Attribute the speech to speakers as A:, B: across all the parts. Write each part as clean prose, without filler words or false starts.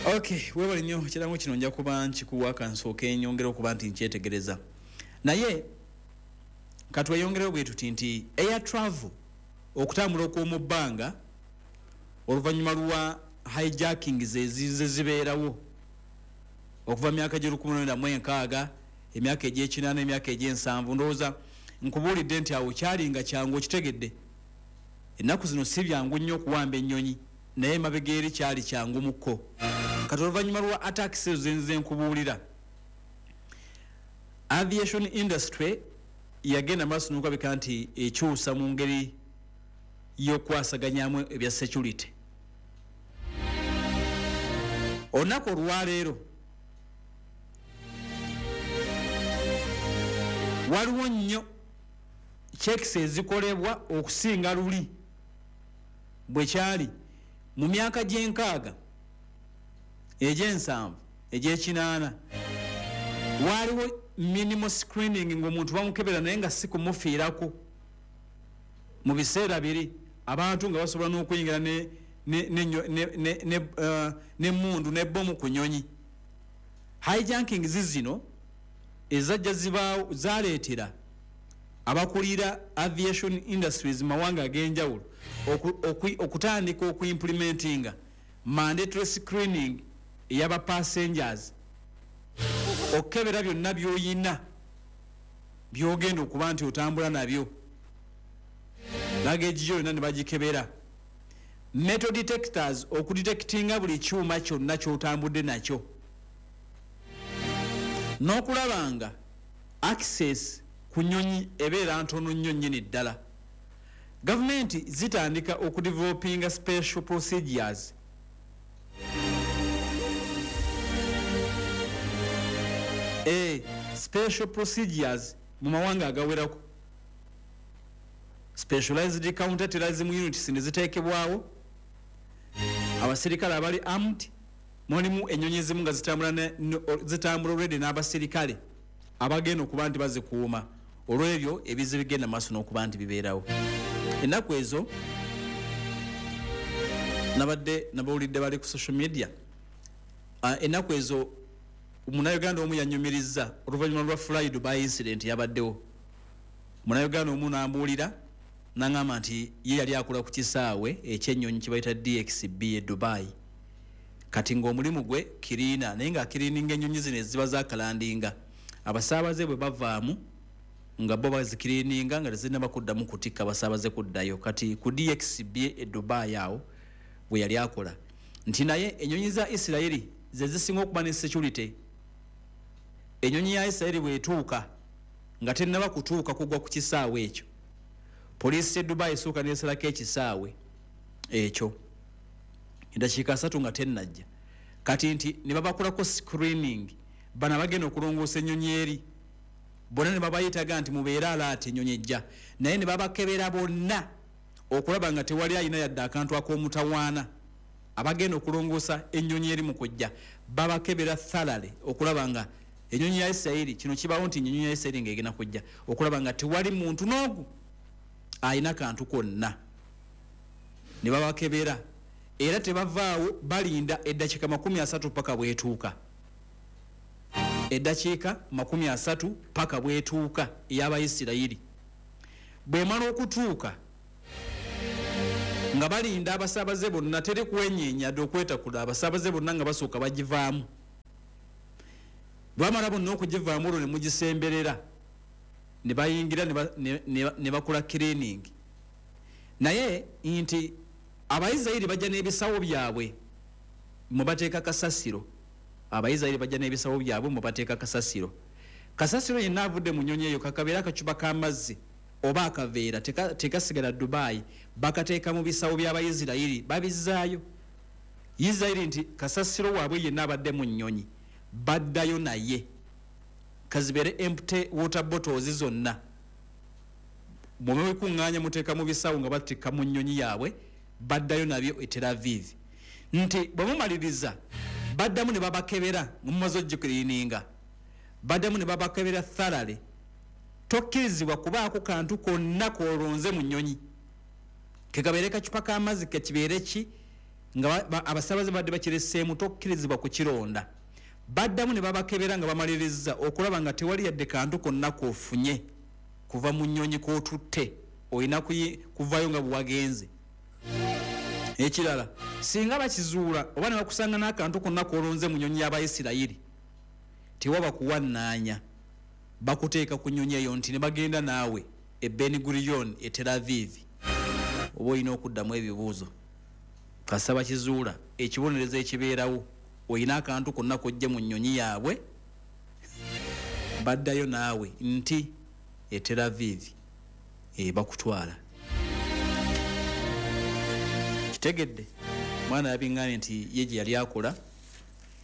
A: Okay, webale nnyo. Kirango kino nja kuba nkikuwa, kansooke nyongera okuba nti nkyetegereza. Naye katweyongereyo bwe tuti nti air travel, okutambula okw'omu bbanga, oluvannyuma lwa hijacking zezize zibeerawo okuva myaka gye 1960, emyaka egyekinaana, emyaka egyensanvu, ndowooza nkubuulidde nti awo kyalinga kyangu. Okitegedde, ennaku zino si byangu nnyo okuwamba ennyonyi, naye emabega eri kyali kyangu mukko. Kati oluvannyuma lwa attacks ezo zenze nkubuulira, aviation industry yagenda maaso nokulabika nti ekyusa mu ngeri y'okukwasaganyamu ebya security. Olunaku olwaleero waliwo nnyo checks ezikolebwa okusinga luli bwe kyali mu myaka gy'enkaaga, egyensanvu, egyekinaana. Waliwo minimal screening, ngaomuntu bamukebera naye nga si kumufiirako. Mu biseera biri abantu nga basobola n'okuyingira nemundu nebbomu ku nyonyi. Hijacking zizino ezajja zibaawo zaleetera abakulira aviation industries mawanga ag'enjawulo okutandika okuimplementinga mandatory screening ey'aba passengers, okukebera byonna by'oyina byogenda okuba nti otambula nabyo, luggage yo yonna ne bagikebera, metal detectors okudetectinga buli kyuma kyonna kyotambudde nakyo, n'okulaba nga access ku nyonyi ebeera ntono nnyo nnyini ddala. Gavumenti zitandika okudevelopinga special procedures, special procedures mu mawanga agawerako, specialized counter terrorism units ne ziteekebwawo, abasirikale abali armed. Mulimu ennyonyi ezimu nga zitambula already n'abasirikale abagenda okuba nti bazikuuma olw'ebyo ebizibu bigenda maaso n'okuba nti bibeerawo. Ennaku ezo nabadde nabawulidde bali ku social media. Ennaku ezo Munnayuganda omu yanyumiriza oluvannyuma lwa Fly Dubai incident yabaddewo. Munnayuganda omu nambuulira naŋŋamba nti ye yali akola ku kisaawe ekyennyonyi kibayita DXB e Dubai. Kati ng'omulimu gwe cleaner, naye ng'acleaninga ennyonyi zino eziba zakalandinga, abasaabaze bwe bavaamu nga bo bazicleaninga nga tezinnaba kuddamu kutikka abasaabaze kuddayo. Kati ku DXB e Dubai awo bwe yali akola, nti naye ennyonyi za Isirayiri ze zisinga okuba ne security. Ennyonyi ya Isirayiri bw'etuuka, nga tennaba kutuuka kugwa ku kisaawe ekyo, poliisi e Dubai esooka nesalako ekisaawe ekyo eddakiika 30 nga tennajja. Kati nti ne babakolako screening bano abagenda okulongoosa ennyonyi eri bonna, ne babayitaga nti mubeere alaati, ennyonyi ejja, naye ne babakebera bonna okulaba nga tewali alina yadde akantu ak'omutawaana. Abagenda okulongoosa ennyonyi eri mu kujja babakebera thoroughly okulaba nga ennyonyi ya Isirayiri, kino kibawo nti ennyonyi ya Isirayiri ng'egenda kujja, okulaba nga tewali muntu n'ogu alina kantu konna. Ne babakebera era tebavaawo, balinda eddakiika 30 paka bwetuuka, eddakiika 30 paka bwetuuka ey'Abayisirayiri. Bwemala okutuuka nga balinda abasaabaze bonna, teri kwenyeenya dde okwetakula, abasaabaze bonna nga basooka bagivaamu. Bwamala bonna okugivaamu, olwo ne mugisemberera ne bayingira ne bakola cleaning. Naye nti Abayisirayiri bajja n'ebisawo byabwe mwe bateeka kasasiro. Abayisirayiri bajja n'ebisawo byabwe mwe bateeka kasasiro. Kasasiro yenna avudde mu nnyonyi eyo, kakabeera akacupa k'amazzi oba akaveera, tekasigala Dubai, bakateeka mu bisawo by'Abayisirayiri, babizaayo Isirayiri. Nti kasasiro waabwe yenna abadde mu nnyonyi baddayo naye, kazibeere empty water bottles zonna, bwemubikuŋŋaanya muteeka mu bisawo nga batikka mu nnyonyi yaabwe, baddayo nabyo e Tel Aviv. Nti bwe mumaliriza baddamu ne babakebera nga mumaze ogicleaninga, baddamu ne babakebera thoroughly. Tokkirizibwa kubaako kantu konna kolonze mu nnyonyi, kekabeere kacupa k'amazzi, kekibeere ki. Nga abasabaze badde bakireseemu, tokkirizibwa kukironda. Baddamu ne babakebera nga bamaliriza okulaba nga tewali yadde kantu konna k'ofunye kuva mu nnyonyi k'otutte, olina kuvayo nga bwewagenze. Ekirala, singa bakizuula oba ne bakusanga n'akantu konna k'olonze mu nnyonyi y'Abayisirayiri, tewaba kuwannaanya, bakuteeka ku nnyonyi eyo nti ne bagenda naawe e Ben Gurion e Tel Aviv, oba olina okuddamu ebibuuzo. Kasaba kizuula ekibonerezo ekibeerawo, olina akantu konna kojje mu nnyonyi yaabwe, baddayo naawe nti e Tel Aviv bakutwala. Kitegedde mwana yabiŋŋambye nti ye gye yali akola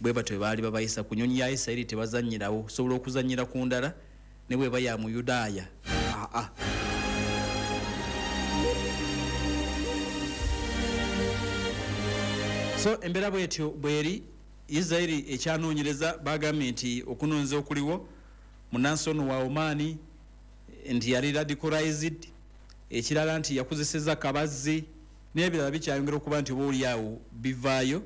A: bwe batyo baali babayisa ku nnyonyi ya Isirayiri, tebazannyirawo, osobola okuzannyira ku ndala ne bweba ya Muyudaaya. Aa, so embeera bwetyo bweri. Isirayiri ekyanoonyereza, bagambye nti okunoonyereza okuliwo, munnansi ono wa Oman nti yali radicalized, ekirala nti yakozesezza kabazzi n'ebirala bikyayongera okuba nti oba oli awo bivaayo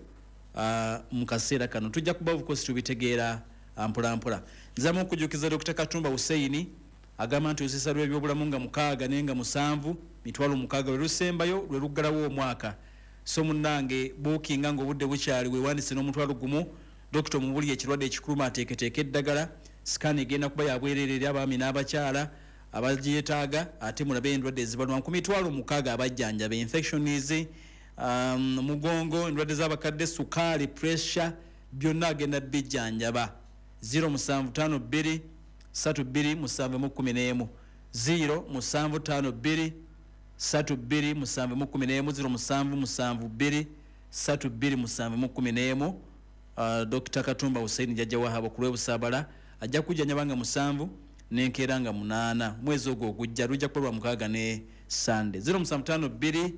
A: mu kaseera kano. Tujja kuba of course tubitegeera mpola mpola. Nzamu okujjukiza Dr. Katumba Hussein agamba nti olusiisa lw'ebyobulamu nga 6 naye nga 7, 60,000 lwe lusembayo, lwe luggalawo omwaka. So munnange, bookinga ng'obudde bukyali, weewandise n'50,000. Dokita omubuli ekirwadde ekikuluma ateeketeeka eddagala. Scan egenda kuba yabwereere eri abaami n'abakyala abagyetaaga, ate mulabe endwadde ezibalwa ku 60,000, abajjanjaba infections, mugongo, endwadde z'abakadde, sukaali, pressure, byonna agenda bijjanjaba. 0752 32 7 11, 0752 32 7 11, 0772 32 7 11. Dr. Katumba Hussein Jajja Wahaba ku lw'Ebusabala ajja kujjanjaba nga 7 n'enkeera nga 8 mwezi ogwo ogujja, lujja kuba lwa 6 ne Sunday. 0752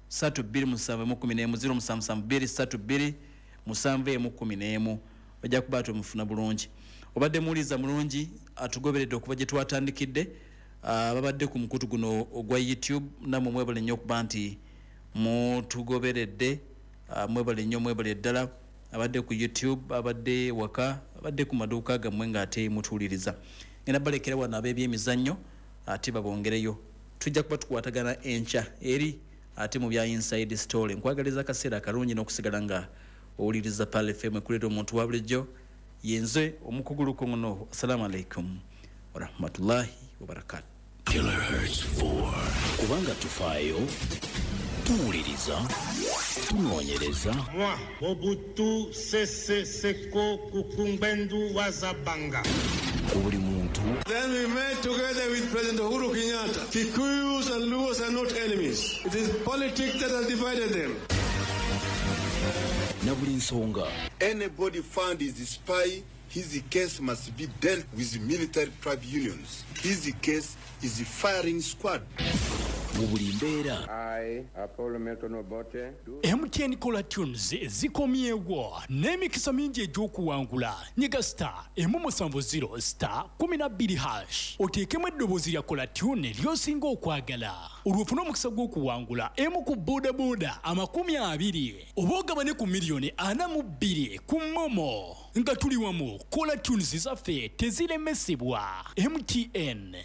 A: 32 7 11, 0772 32 7 11, ojja kuba tumufuna bulungi. Obadde muwuliza mulungi atugoberedde okuva gye twatandikidde, babadde ku mukutu guno ogwa YouTube, nammwe mwebale nnyo okuba nti mutugoberedde, mwebale nnyo, mwebale ddala. Abadde ku YouTube, abadde waka, abadde ku maduuka gammwe ng'ate mutuwuliriza. Ngenda balekera wano ab'ebyemizannyo ate babongereyo. Tujja kuba tukwatagana enkya eri ate mu bya Inside Story. Nkwagaliza akaseera akalungi n'okusigala nga owuliriza Pearl FM ekuleeta omuntu wa bulijjo. Yenze omukuguluko ngono. Assalamu alaikum warahmatullahi wabarakatuh.
B: Kilohertz 4. Kubanga tufaayo, tuwuliriza, tunoonyereza.
C: Moi, Mobutu Sese Seko Kukumbwendu Wazabanga.
B: Ku buli muntu.
D: Then we met together with President Uhuru Kenyatta. Kikuyus and Luos are not enemies. It is politics that has divided them.
B: Na buli nsonga.
E: Anybody found is a spy, his case must be dealt with military tribunals. His case is a firing squad.
B: Mu buli mbeera.
F: I, Apollo Milton Obote.
G: MTN Caller Tunes zikomyewo n'emikisa mingi egy'okuwangula. Nyiga star 170 star 12 hash, oteekemu eddoboozi lya Caller Tune ly'osinga okwagala, olwo ofune omukisa gw'okuwangula emu ku bodaboda 20 oba ogabane ku 42 million ku MoMo. Nga tuli wamu, Caller Tunes zaffe teziremesebwa. MTN.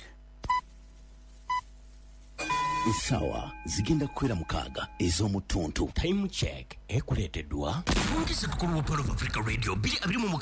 B: Essaawa zigenda kukwera 6 ez'omu ttuntu.
H: Time Check ekuleeteddwa
I: Fungisa tukulu wa Pearl of Africa Radio 2026.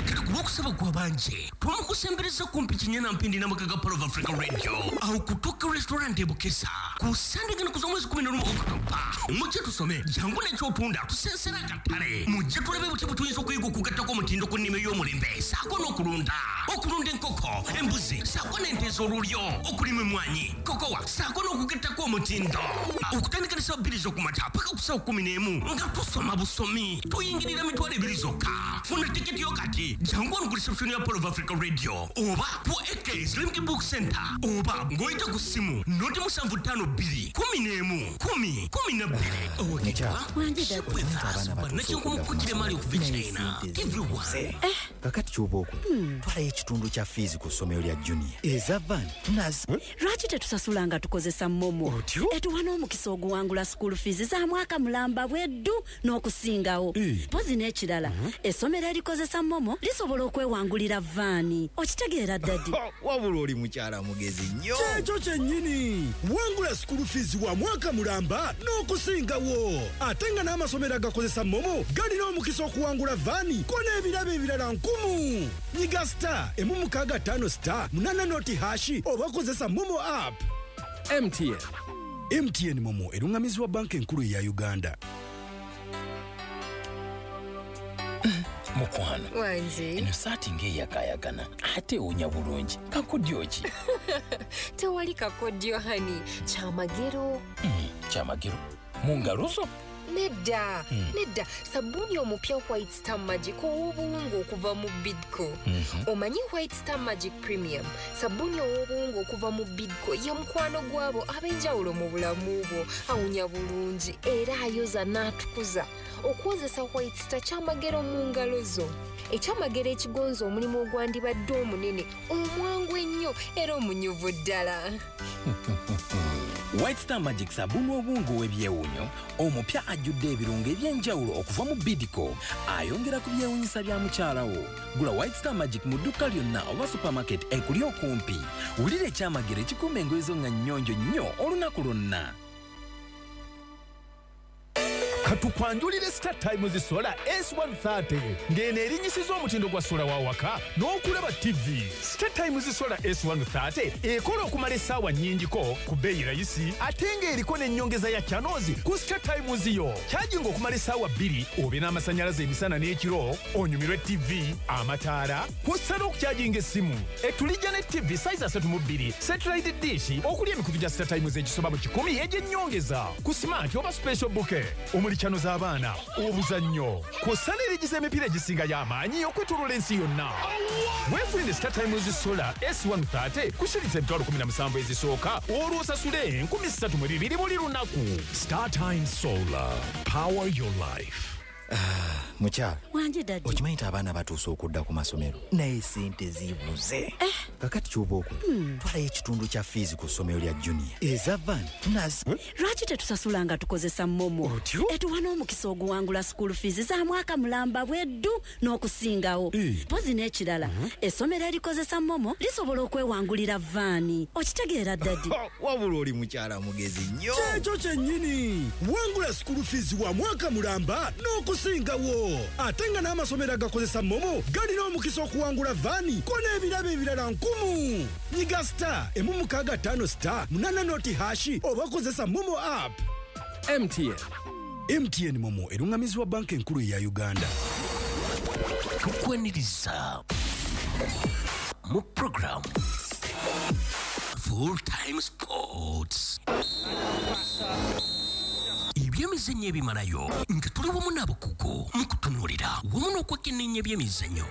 I: Kati ku lwokusaba gwabanje twamukusembereza kumpi kinyana mpindi n'amaka ga Pearl of Africa Radio awo ku Tokyo Restaurant e Bukesa ku Sande gano kuza omwezi 11 Okutoba. Mujje tusome, jangu n'ekyotunda, tusensera akatale. Mujje tulabe butya bwe tuyinza okuyiga okugattako omutindo ku nnima ey'omulembe saako n'okulunda, okulunda enkoko, embuzi saako n'ente ez'olulyo, okulima emmwanyi, kokowa saako n'okugattako omutindo. Okutandika ne ssaawa 2 z'okumakya paka ku ssaawa 11 nga tusoma busomi, tuyingirira 20,000 zokka. Funa tiketi yo kati, jangu wano ku reception ya Pearl of Africa Radio oba ku AK Islamic Book Center oba ng'oyita ku ssimu 075 2 11 10 12. Owekitwa
J: Abaana
I: nakinkumukukire mali okuva e China TV1.
J: Kakati. Kakati kyoba okola, twalayo ekitundu kya fees ku ssomero lya Junior, eza van nazi.
K: Lwaki tetusasula nga tukozesa MoMo? Etuwa n'omukisa oguwangula school fees za mwaka mulamba bweddu n'okusingawo. Mpozi n'ekirala, essomero erikozesa MoMo lisobola okwewangulira van. Okitegeera, daddy?
J: Wabula oli mukyala mugezi nnyo.
L: Kyekyo kyennyini. Wangula school fees wa mwaka mulamba n'okusingawo, ate nga n'amasomero agakozesa MoMo galina omukisa okuwangula van ko n'ebirabo ebirala nkumu. Nyiga *165 *80 nought hash oba kozesa MoMo app.
M: MTN.
L: MTN MoMo eruŋŋamizibwa Banka Enkulu eya Uganda.
H: Mukwano.
N: Wangi.
H: Eno saati ng'eyakaayakana ate ewunya bulungi. Kakodyo ki?
N: Tewali kakodyo, honey, kyamagero.
H: Kyamagero mu ngalo zo?
N: Nedda. Nedda, sabbuuni omupya White Star Magic ow'obuwunga okuva mu Bidco. Omanyi White Star Magic Premium, sabbuuni ow'obuwunga okuva mu Bidco, ye mukwano gwabo ab'enjawulo mu bulamu bwo. Awunya bulungi era ayoza n'atukuza. Okwozesa White Star kyamagero mu ngalo zo, ekyamagero ekigonza omulimu ogwandibadde omunene, omwangu ennyo era omunyuvu ddala.
O: White Star Magic, sabbuuni obuwunga ow'ebyewuunyo omupya ajjudde ebirungo eby'enjawulo okuva mu Bidco, ayongera ku byewuunyisa bya mukyala wo. Gula White Star Magic mu dduuka lyonna oba supermarket ekuli okumpi. Wulira ekyamagero ekikuuma engoye zo nga nnyonjo nnyo olunaku lwonna.
P: Katukwanjulire Star Times Solar S130, ng'eno erinyisiza omutindo gwa solar wa waka n'okulaba TV. Star Times Solar S130 ekola okumala essaawa nnyingiko ku bbeeyi rayisi, ate ng'eriko n'ennyongeza ya channels ku Star Times yo. Kyajinga okumala essaawa 2 obe n'amasannyalaze emisana n'ekiro, onyumirwe TV, amataala, kw'ossa n'okukyajinga essimu. Etulijja ne TV size 32, satellite dish okuli emikutu gya Star Times egisoba mu 100 egy'ennyongeza ku smart oba special bouquet, omuli channel z'abaana, obuzannyo, kw'ossa n'erigiza emipiira egisingayo amaanyi okwetooloola ensi yonna. Weefunire Star Times Solar S130 ku shilingi 17,000 ezisooka, olwo osasule 3,002 buli lunaku.
Q: Star Times Solar. Power your life.
J: Mukyala.
K: Wangi, daddy.
J: Okimanyi nti abaana batuuse okudda ku masomero, naye sente zibuze. Kakati kyoba okola, twalayo ekitundu kya fees ku ssomero lya Junior, eza van nazi.
K: Lwaki tetusasula nga tukozesa MoMo? Etuwa n'omukisa oguwangula school fees za mwaka mulamba bweddu n'okusingawo. Mpozi n'ekirala, essomero erikozesa MoMo lisobola okwewangulira van. Okitegeera, daddy?
J: Wabula oli mukyala mugezi nnyo.
L: Kyekyo kyennyini. Wangula school fees wa mwaka mulamba n'okusingawo, ate nga n'amasomero agakozesa MoMo galina omukisa okuwangula van ko n'ebirabo ebirala nkumu. Nyiga *165 *80 nought hash oba kozesa MoMo app.
M: MTN.
L: MTN MoMo eruŋŋamizibwa Banka Enkulu eya Uganda.
I: Tukwaniriza mu program Full Time Sports, ebyemizannyo ebimalayo, nga tuli wamu n'abakugu mu kutunuulira wamu n'okwekenneenya ebyemizannyo.